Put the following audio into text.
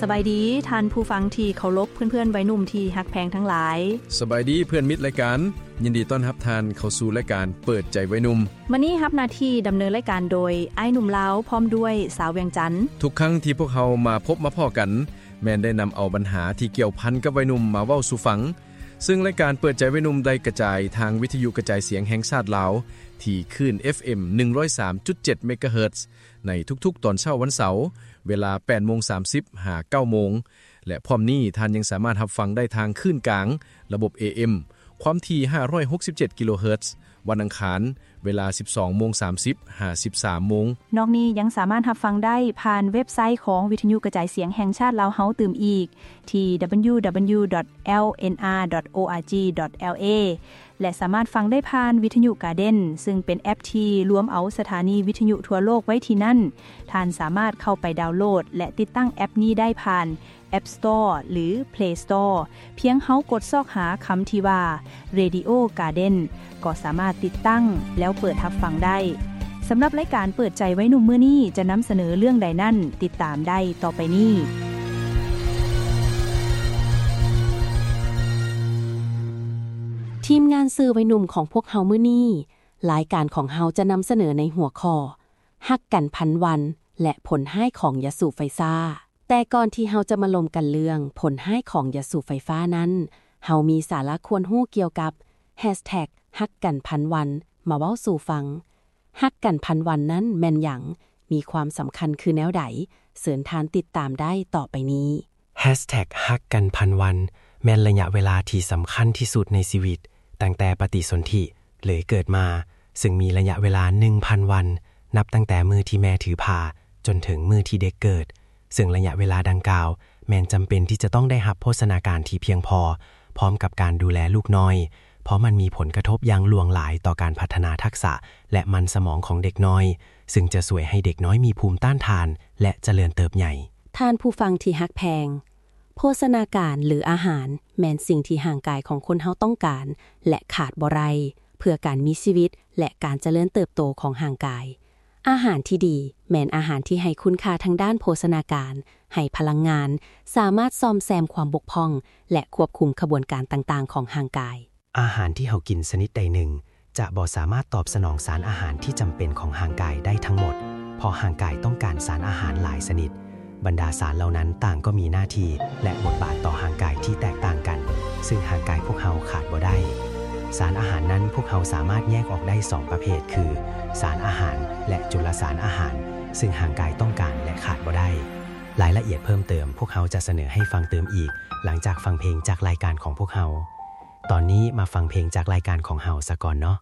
ສະບາຍດີທ່ານຜູ້ຟັງທີ່ເຄົາລົບ, ເພື່ອນໆໄວໜຸ່ມທີ່ຮັກແພງທັງຫຼາຍ. ສະບາຍດີເພື່ອນມິດລາຍການ, ຍິນດີຕ້ອນຮັບທ່ານເຂົ້າສູ່ລາຍການເປີດໃຈໄວໜຸ່ມ. ມື້ນີ້ຮັບໜ້າທີ່ດຳເນີນລາຍການໂດຍອ້າຍໜຸ່ມລາວ ພ້ອມດ້ວຍສາວວຽງຈັນ. ທຸກຄັ້ງທີ່ພວກເຮົາມາພົບມາພໍ້ກັນ, ແມ່ນໄດ້ນຳເອົາບັນຫາທີ່ກ່ຽວພັນກັບໄວໜຸ່ມມາເວົ້າສູ່ຟັງ. ຊຶ່ງລາຍການເປີດໃຈໄວໜຸ່ມໄດ້ກະຈາຍທາງວິທະຍຸກະຈາຍສຽງແຫ່ງຊາດລາວ ທີ່ຄື້ນ ເອັຟເອັມ ໜຶ່ງຮ້ອຍສາມຈຸດເຈັດ ເມກາເຮີດ ໃນທຸກໆຕອນເຊົ້າວັນເສົາ ເວລາ ແປດໂມງສາມສິບ ຫາ ເກົ້າໂມງ ແລະ ພ້ອມນີ້ທ່ານຍັງສາມາດຮັບຟັງໄດ້ທາງຄື້ນກາງ ລະບົບ ເອເອັມ ຄວາມຖີ່ ຫ້າຮ້ອຍຫົກສິບເຈັດ ກິໂລເຮີດ ວັນອັງຄານ ເວລາ ສິບສອງໂມງສາມສິບ ຫາ ສິບສາມໂມງ. ນອກນີ້ຍັງສາມາດຮັບຟັງໄດ້ຜ່ານເວັບໄຊຂອງວິທະຍຸກະຈາຍສຽງແຫ່ງຊາດລາວເຮົາຕື່ມອີກ ທີ່ www.lnr.org.la ແລະ ສາມາດຟັງໄດ້ຜ່ານວິທະຍຸກາເດັນ ຊຶ່ງເປັນແອັບທີ່ລວມເອົາສະຖານີວິທະຍຸທົ່ວໂລກໄວ້ທີ່ນັ້ນ. ທ່ານສາມາດເຂົ້າໄປດາວໂຫຼດ ແລະ ຕິດຕັ້ງແອັບນີ້ໄດ້ຜ່ານ App Store ຫຼື Play Store ພຽງເຮົາກົດຊອກຫາຄຳທີ່ວ່າ Radio Garden ກໍສາມາດຕິດຕັ້ງແລ້ວເປີດຮັບຟັງໄດ້. ສຳລັບລາຍການເປີດໃຈໄວໜຸ່ມມື້ນີ້ຈະນຳສະເໜີເລື່ອງໃດນັ້ນ, ຕິດຕາມໄດ້ຕໍ່ໄປນີ້. ທີມງານສື່ໄວໜຸ່ມຂອງພວກເຮົາມື້ນີ້, ລາຍການຂອງເຮົາຈະນຳສະເໜີໃນຫົວຂໍ້ ຮັກກັນພັນວັນ ແລະ ຜົນຮ້າຍຂອງຢາສູບໄຟຊ້າ. ແຕ່ກ່ອນທີ່ເຮົາຈະມາລົມກັນເລື່ອງຜົນຮ້າຍຂອງຢາສູບໄຟຟ້ານັ້ນ, ເຮົາມີສາລະຄວນຮູ້ກ່ຽວກັບ ແຮັສແທັກຮັກກັນພັນວັນ ມາເວົ້າສູ່ຟັງ. ຮັກກັນພັນວັນນັ້ນແມ່ນຫຍັງ? ມີຄວາມສຳຄັນຄືແນວໃດ? ເຊີນທ່ານຕິດຕາມໄດ້ຕໍ່ໄປນີ້. ແຮັສແທັກຮັກກັນພັນວັນ ແມ່ນໄລຍະເວລາທີ່ສຳຄັນທີ່ສຸດໃນຊີວິດ, ຕັ້ງແຕ່ປະຕິສົນທິ ຫຼື ເກີດມາ, ຊຶ່ງມີໄລຍະເວລາໜຶ່ງພັນວັນ, ນັບຕັ້ງແຕ່ມື້ທີ່ແມ່ຖືພາ ຈົນເຖິງມື້ທີ່ເດັກເກີດ, ຊຶ່ງໄລຍະເວລາດັ່ງກ່າວ ແມ່ນຈຳເປັນທີ່ຈະຕ້ອງໄດ້ຮັບໂພຊະນາການທີ່ພຽງພໍ, ພ້ອມກັບການດູແລລູກນ້ອຍ, ເພາະມັນມີຜົນກະທົບຢ່າງຫຼວງຫຼາຍຕໍ່ການພັດທະນາທັກສະ ແລະ ມັນສະໝອງຂອງເດັກນ້ອຍ, ຊຶ່ງຈະຊ່ວຍໃຫ້ເດັກນ້ອຍມີພູມຕ້ານທານ ແລະ ຈະເລີນເຕີບໃຫຍ່. ທ່ານຜູ້ຟັງທີ່ຮັກແພງ, ໂພຊະນາການ ຫຼື ອາຫານ ແມ່ນສິ່ງທີ່ຮ່າງກາຍຂອງຄົນເຮົາຕ້ອງການ ແລະ ຂາດບໍ່ໄດ້ ເພື່ອການມີຊີວິດ ແລະ ການຈະເລີນເຕີບໂຕຂອງຮ່າງກາຍ. ອາຫານທີ່ດີແມ່ນອາຫານທີ່ໃຫ້ຄຸນຄ່າທາງດ້ານໂພຊະນາການ, ໃຫ້ພະລັງງານ, ສາມາດສ້ອມແຊມຄວາມບົກຜ່ອງ ແລະ ຄວບຄຸມຂະບວນການຕ່າງໆຂອງຮ່າງກາຍ. ອາຫານທີ່ເຮົາກິນຊະນິດໃດໜຶ່ງ ຈະບໍ່ສາມາດຕອບສະໜອງສານອາຫານທີ່ຈຳເປັນຂອງຮ່າງກາຍໄດ້ທັງໝົດ, ເພາະຮ່າງກາຍຕ້ອງການສານອາຫານຫຼາຍຊະນິດ. ບັນດາສານເຫຼົ່ານັ້ນຕ່າງກໍມີໜ້າທີ່ ແລະ ບົດບາດຕໍ່ຮ່າງກາຍທີ່ແຕກຕ່າງກັນ, ຊຶ່ງຮ່າງກາຍພວກເຮົາຂາດບໍ່ໄດ້. ສານອາຫານນັ້ນພວກເຮົາສາມາດແຍກອອກໄດ້ສອງປະເພດ ຄື ສານອາຫານ ແລະ ຈຸລະສານອາຫານ, ຊຶ່ງຮ່າງກາຍຕ້ອງການ ແລະ ຂາດບໍ່ໄດ້. ລາຍລະອຽດເພີ່ມເຕີມ ພວກເຮົາຈະສະເໜີໃຫ້ຟັງຕື່ມອີກ ຫຼັງຈາກຟັງເພງຈາກລາຍການຂອງພວກເຮົາ. ຕອນນີ້ມາຟັງເພງຈາກລາຍການຂອງເຮົາສາກ່ອນເນາະ.